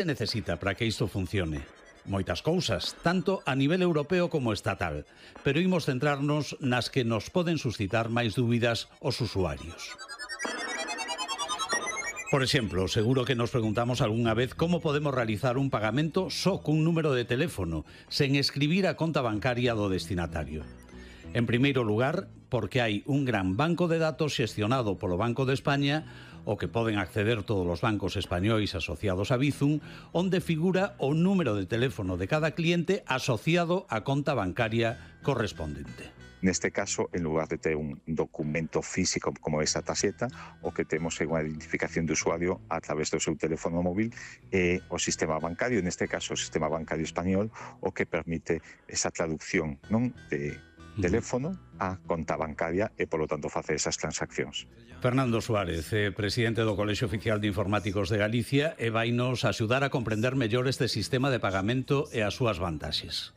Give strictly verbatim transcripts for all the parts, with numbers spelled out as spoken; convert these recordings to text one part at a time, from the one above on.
Se necesita para que isto funcione? Moitas cousas, tanto a nivel europeo como estatal, pero imos centrarnos nas que nos poden suscitar máis dúbidas os usuarios. Por exemplo, seguro que nos preguntamos algunha vez como podemos realizar un pagamento só cun número de teléfono, sen escribir a conta bancaria do destinatario. En primeiro lugar, porque hai un gran banco de datos xestionado polo Banco de España, o que poden acceder todos os bancos españois asociados a Bizum, onde figura o número de teléfono de cada cliente asociado á conta bancaria correspondente. Neste caso, en lugar de ter un documento físico como esa tarxeta, o que temos é unha identificación de usuario a través do seu teléfono móvil e o sistema bancario, neste caso o sistema bancario español, o que permite esa traducción, non, de teléfono a conta bancaria e, polo tanto, facer esas transaccións. Fernando Suárez, eh, presidente do Colexio Oficial de Informáticos de Galicia, e vainos axudar a comprender mellor este sistema de pagamento e as súas vantaxes.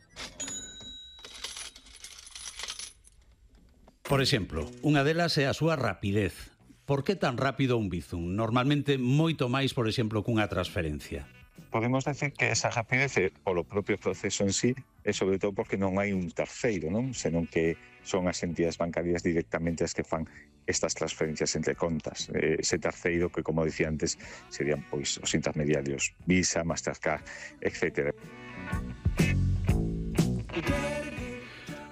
Por exemplo, unha delas é a súa rapidez. Por que tan rápido un Bizum? Normalmente moito máis, por exemplo, cunha transferencia. Podemos decir que esa rapidez é polo propio proceso en sí e sobre todo porque non hai un terceiro, non? Senón que son as entidades bancarias directamente as que fan estas transferencias entre contas. Ese terceiro que, como dicía antes, serían pois os intermediarios Visa, Mastercard, etcétera.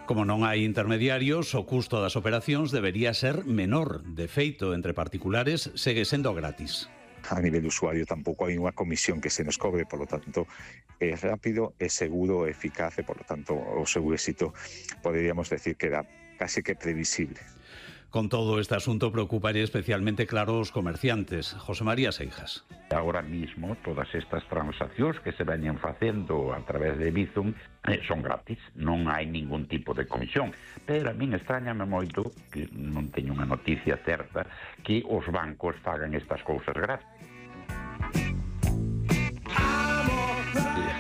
Como non hai intermediarios, o custo das operacións debería ser menor. De feito, entre particulares, segue sendo gratis. A nivel de usuario tampouco hai unha comisión que se nos cobre, polo tanto, é rápido, é seguro, é eficaz e, polo tanto, o seu éxito poderíamos decir que era casi que previsible. Con todo, este asunto preocuparía especialmente, claro, os comerciantes. José María Seijas. Ahora mismo, todas estas transaccións que se veñen facendo a través de Bizum eh, son gratis, non hai ningún tipo de comisión. Pero a min extrañame moito, que non teño unha noticia certa, que os bancos fagan estas cousas gratis.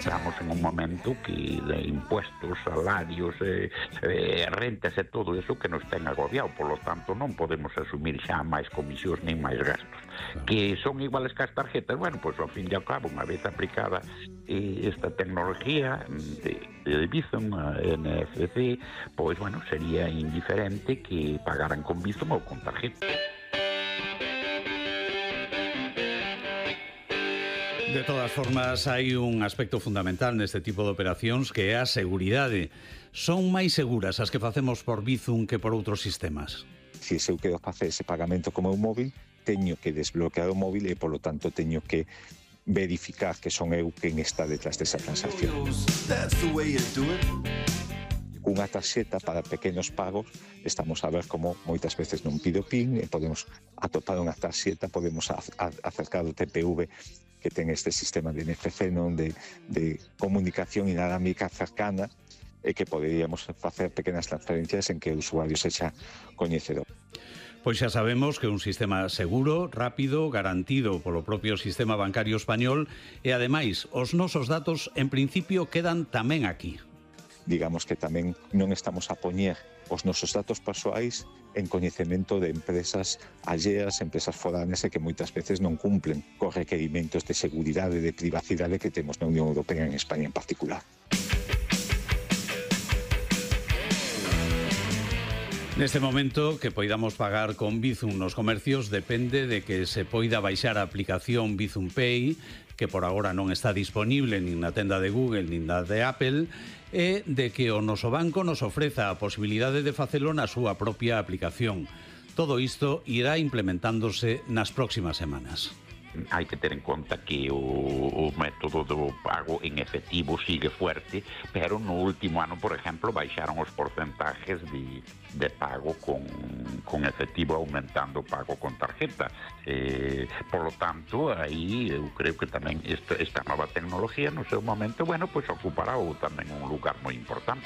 Estamos en un momento que de impuestos, salarios, eh, eh, rentas e todo eso que nos ten agobiado, polo tanto non podemos asumir xa máis comisións nin máis gastos. Claro. Que son iguales que as tarjetas, bueno, pois ao fin e ao cabo, unha vez aplicada eh, esta tecnología de, de Bizum, a N F C, pois bueno, sería indiferente que pagaran con Bizum ou con tarjeta. De todas formas, hai un aspecto fundamental neste tipo de operacións que é a seguridade. Son máis seguras as que facemos por Bizum que por outros sistemas? Se eu quero facer ese pagamento como un móvil, teño que desbloquear o móvil e, polo tanto, teño que verificar que son eu quen está detrás desa transacción. Unha tarxeta para pequenos pagos, estamos a ver como moitas veces non pido PIN e podemos atopar unha tarxeta, podemos acercar o T P V que ten este sistema de N F C, non, de, de comunicación inalámbrica cercana, e que poderíamos facer pequenas transferencias en que o usuario sexa coñecedor. Pois xa sabemos que un sistema seguro, rápido, garantido polo propio sistema bancario español e, ademais, os nosos datos, en principio, quedan tamén aquí. Digamos que tamén non estamos a poñer os nosos datos persoais en coñecemento de empresas alleas, empresas foráneas e que moitas veces non cumplen cos requerimentos de seguridade e de privacidade que temos na Unión Europea, en España en particular. Neste momento, que poidamos pagar con Bizum nos comercios depende de que se poida baixar a aplicación Bizum Pay, que por agora non está disponible nin na tenda de Google nin na de Apple, e de que o noso banco nos ofreza a posibilidade de facelo na súa propia aplicación. Todo isto irá implementándose nas próximas semanas. Hai que ter en conta que o, o método do pago en efectivo sigue fuerte, pero no último ano, por exemplo, baixaron os porcentajes de, de pago con, con efectivo, aumentando o pago con tarjeta. Eh, por lo tanto, aí eu creo que tamén esta, esta nova tecnología no seu momento, bueno, pues ocupará ou tamén un lugar moi importante.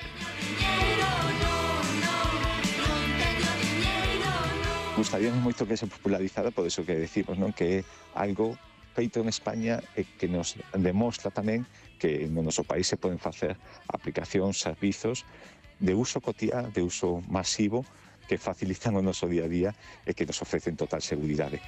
Gustaríamos moito que se popularizara, por eso que decimos, non, que é algo feito en España e que nos demostra tamén que no noso país se poden facer aplicacións, servizos de uso cotiá, de uso masivo, que facilitan o noso día a día e que nos ofrecen total seguridade.